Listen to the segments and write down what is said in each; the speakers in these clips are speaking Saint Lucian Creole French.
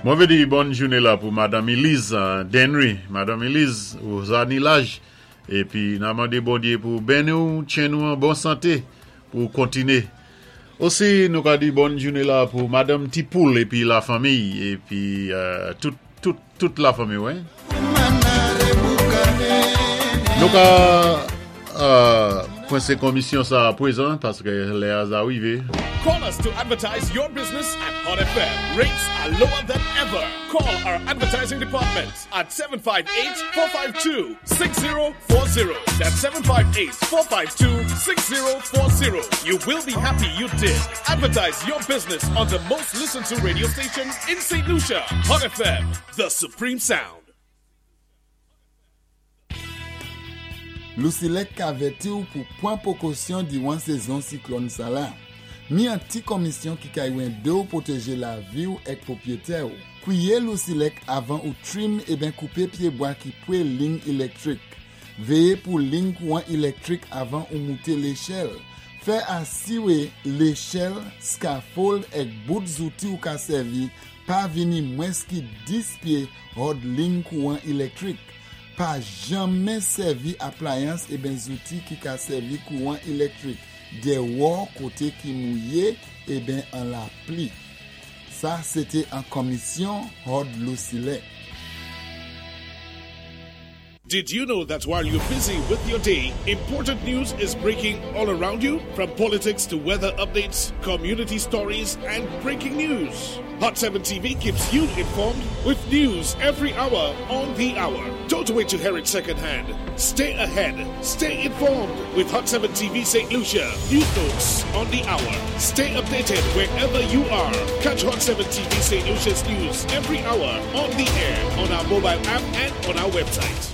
Mwen vé di bòn jouné la pou Madanm Elise Denry. Madanm Elise, ou za ni laj épi na mandé Bondyé pou benni ou, tjenn ou an bon santé pou kontiné. Osi nou ka di bòn jouné la pou Madanm Ti Poul épi la fanmiy épi tout tout tout la fanmiy wi. Nou ka kwense komisyon sa a pwezan paske lè a za rive. Call us to advertise your business at Hot FM. Rates are lower than ever. Call our advertising department at 758-452-6040. That's 758-452-6040. You will be happy you did. Advertise your business on the most listened to radio station in St. Lucia. Hot FM, the supreme sound. Lucelec ka avèti ou pou pwan pwékosyon diwan sézon siklòn sala. Ni an ti konmisyon ki kay wende ou pwotéjé lavi ou èk pwopwétè ou. Kwiyé Lucelec avan ou trim eben koupé pyébwa ki pwé ling ilektrik. Véyé pou ling kouwan ilektrik avan ou mouté léchèl. Fè asiwé léchèl, scaffold èk bout zouti ou ka sèvi pa vini mwens ki 10 pyé hòd ling kouwan ilektrik. Pa janmen sèvi aplayans eben zouti ki ka sèvi kouwan ilektrik dèwò koté ki mouyé eben an lapli. Sa sé té an konmisyon hòd Lucelec. Did you know that while you're busy with your day, important news is breaking all around you? From politics to weather updates, community stories, and breaking news. Hot 7 TV keeps you informed with news every hour on the hour. Don't wait to hear it secondhand. Stay ahead. Stay informed with Hot 7 TV St. Lucia. News notes on the hour. Stay updated wherever you are. Catch Hot 7 TV St. Lucia's news every hour on the air, on our mobile app, and on our website.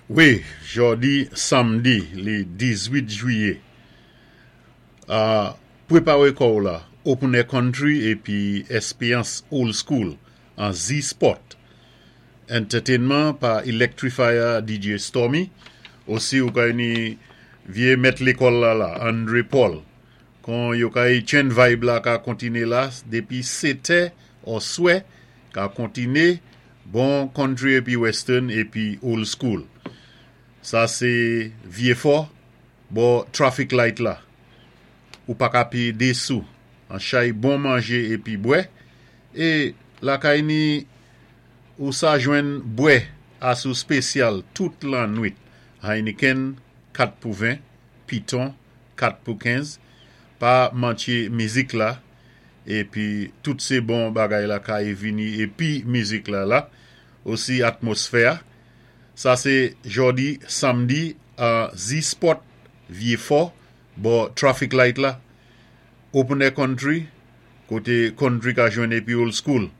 Wi, jòdi samdi li 18 jwiyé. Pwépawé kò'w la, Open Air Country épi Espéyans Old School an Z-Spot. Entertainment pa Electrifier DJ Stormy. Osi ou kay ni vyé mèt lékòl la la, Andre Paul. Kon yo kay tjenn vibe la ka kontiné la dépi 7 òswè ka kontiné bon country épi western épi old school. Sa sé Vyéfò bò traffic light la. Ou pa ka péyé 2 sou. An chay bon manjé épi bwè. É lakay ni ou sa jwenn bwè asou spésyal tout lannwit. Heineken 4 pou 20, Piton 4 pou 15. Pa mantye mizik la épi tout sé bon bagay la kay vini épi mizik la la. Osi atmosfè a. Sa sé jòdi samdi an Z-Spot Vyéfò bò traffic light la. Open Air Country koté country ka jwenn épi old school.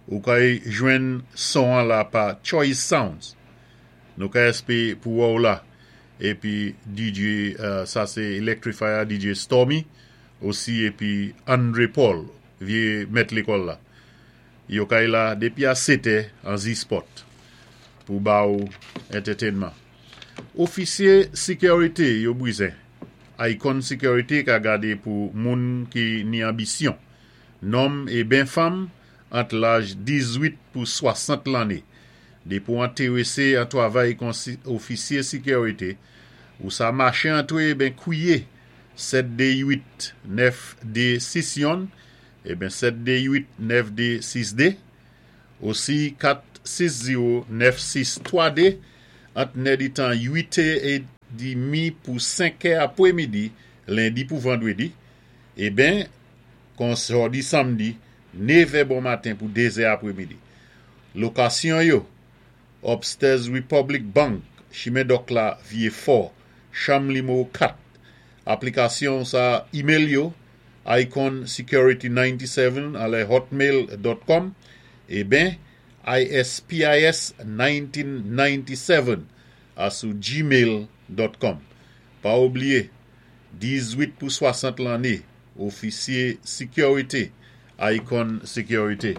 Ou kay jwenn son an la pa Choice Sounds. Nou ka èspé pou wè ou la. Épi DJ sa sé Electrifier DJ Stormy osi épi Andre Paul vyé mèt lékòl la. Yo kay la dépi a 7 an Z-Spot pou ba ou entertainment. Ofisyé sikurité yo bwizen. Icon Security ka gadé pou moun ki ni anbisyon. Nonm é ben fanm ant laj 18 pou 60 lanné. Dépi ou entéwésé an twavay kon ofisyé sikurité, ou sa maché antwé ben kwiyé 728 9261 é ben 728 9262 osi 460 9632 ant nè di tan 8 é demi pou 5 apwémidi lendi pou vandwédi é ben kon jòdi samdi 9 bon maten pou 2 apwémidi. Lokasyon yo Upstairs Republic Bank, Chimen Dòk la Vyéfò, chanm nimewo 4. Aplikasyon sa email yo iconsecurity97 alè hotmail.com é ben ispis 1997 asou gmail.com. Pa oubliyé 18 pou 60 lanné, ofisyé sikurité, Icon Security.